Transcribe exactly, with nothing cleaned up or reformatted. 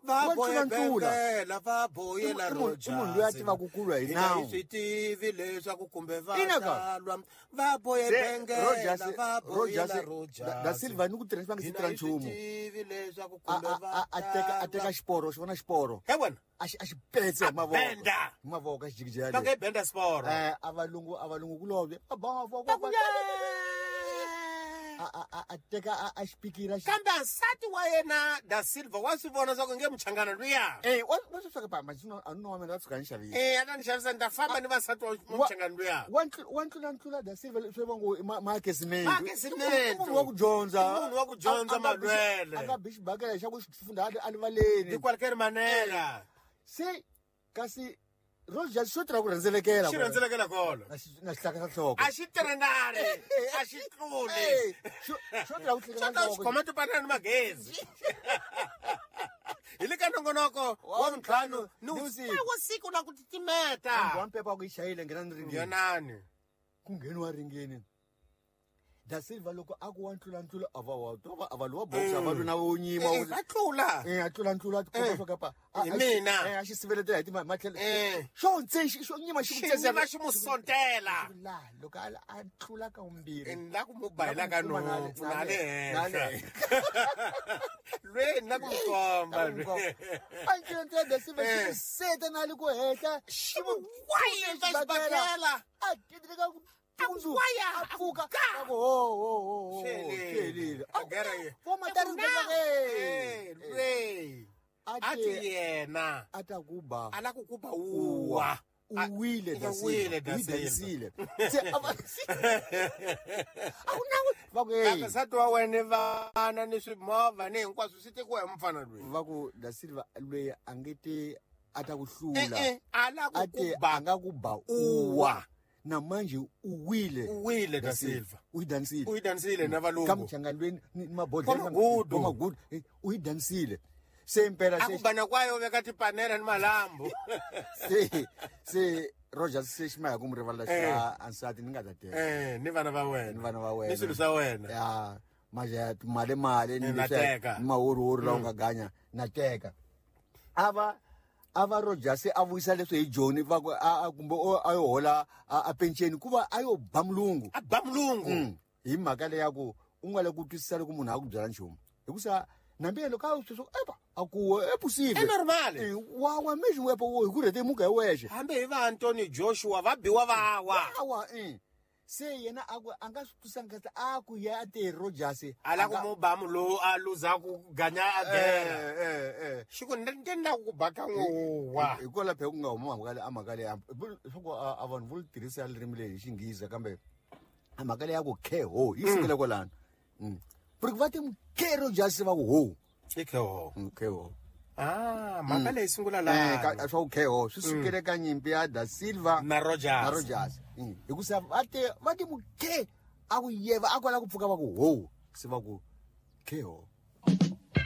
Va boye bengela va boyela Rogers. Munhu loyi a tivaka ku lwa hi nawu. Hi swi tivi leswaku kumbe va Ina ka. ta lwa. Va boye Se bengela Rogers va boyela Rogers Rogers. Da, da Silva ni ku tirhisa va nga si Hina tirha hi swi nchumu. tivi leswaku A kumbe a va a a teka a teka ta lwa. xiporo, xi vona xiporo. He wena. A xi a xi petse hi mavoko. Benda. Hi mavoko a xi jikijela. Va nge benda xiporo. Eh a valungu a valungu kulobye. A ba va Va ku A a a a teka a a xipikira xi. Kambe nsati wa yena Da Silva wa swi vona swa ku nge muchangana luya. Eh wa wa swi swa pa ma xino a no wa mina tshuka ni xavisa. Eh a ta ni xavisa ni ta famba ni vasati wa muchangana luya. Wa ntlu wa ntlula ntlula Da Silva swi va ngo ma ma kesimento. Ma kesimento. Munhu wa ku dyondza. Munhu wa ku dyondza A- a nga bi xi- malwele. A nga bi xibakela xa ku xi funda a livaleni. Hikwalaho manela. Se kasi Rogers xo tirha ku rhendzelekela. Xi rhendzelekela kona. Na xi na xihlaka xa nhloko. A xi tirhenari, a xi tluli. Eh, xo xo tirha ku Xo hlekela ta xi nhloko. khoma tipanana ni magezi. Hi le ka nongonoko wa vuntlhanu ni Ni vusiku. vusiku. Wa siku na ku titimeta. Wa mpepa ku yi chayile nghena ni ringeni. Yonani. Ku ngheniwa ringeni. Da Silva loko a ku wa ntlula ntlula a va wa to va a va lowa boxa va lwa na vo nyima. Eh, va tlula. Eh a tlula ntlula a tikomba Eh. swa kapa. A- Hi a xi- mina. Eh a xi siveletela hi tima matlhelo. Eh. Xo ntse xi xo nyima xi ku Xi tsesa. nyima xi mu sontela. La loko a a tlula ka vumbirhi. Ni la ku mu bayela ka nhompfu na le Na le henhla. Lwe ni la ku mu komba lwe. A ntlula ntlula Da Silva xi Eh. mu seta na le ku henhla. Xi mu wayisa xibakela. A gidrika ku tundzu. Waya, A pfuka. ka. A ku ho ho ho ho. Swi helile. Swi helile. A gera ye. Vo matari Na. Eh. Eh, lwe. A A te ti yena. a ta ku ba. A la ku ku ba uwa. U wile Da U Silva. wile Da U yi Silva. dansile. Se a va A ku na va ku Kambe hey. nsati wa wena ni vana ni swimovha ni hinkwaswo swi tekiwa hi mufana loyi. Va ku Da Silva loyi a nge te a ta ku Eh, hlula. eh, a la ku A te ku ba a nga ku ba uwa. Na manje u wile. U wile Da Silva. U yi dansile. U yi dansile na Ka valungu. muchangani ni mabodhlele. Wa magudu. Wa magudu. Eh, U yi dansile. Se impela A se ku bana kwayo veka tipanela ni malambu. se se Rogers se xi maya ku mu rivalela xi Eh. a nsati ni nga ta teka. Eh, ni vana va wena. Ni vana va wena. Ni swilo swa wena. Ya maja mali mali ni Eh, na leswiya, teka. ni mahorihori lawa nga ganya na teka. A va a va Rogers a vuyisa leswi hi Joni va ku a a kumbe o a yo hola a a penceni ku va a yo ba mulungu. A ba mulungu. Mm. Hi mhaka leya ku u nga le ku twisisa loko munhu a ku byela nchumu. Hikusa nambi loko a sweswo epa a ku e possible. I normal. Eh, wa wa mexi wepo wo hi ku rhete muka hi wexe. Hambi hi va Anthony Joshua va biwa va wa. Awa eh. Se yena a ku a nga swi twisanga kahle a ku ya a te Rogers. A la ku mu ba mu a luza ku ganya a gera. Eh eh eh. Xi ku ni ni la ku ba ka n'wa. Hikwalaho phela ku nga huma mhaka leyi a mhaka leyi leswaku a a vanhu vo tirhisa ririmi leri hi Xinghezi kambe a mhaka leyi ya ku khe ho yi sukela kwalano. Mm. Porque va te khe Rogers va ku ho. I khe ho. Mm, khe ho. Ah, mhaka leyi sungula Eh laha. ka swa ku khe ho swi sukele ka nyimpi ya Da Silva Na Rogers. na Rogers. Mm. Hikusa va te va te mukhe a ku yeva a kwala ku pfuka va ku ho se va ku khe ho.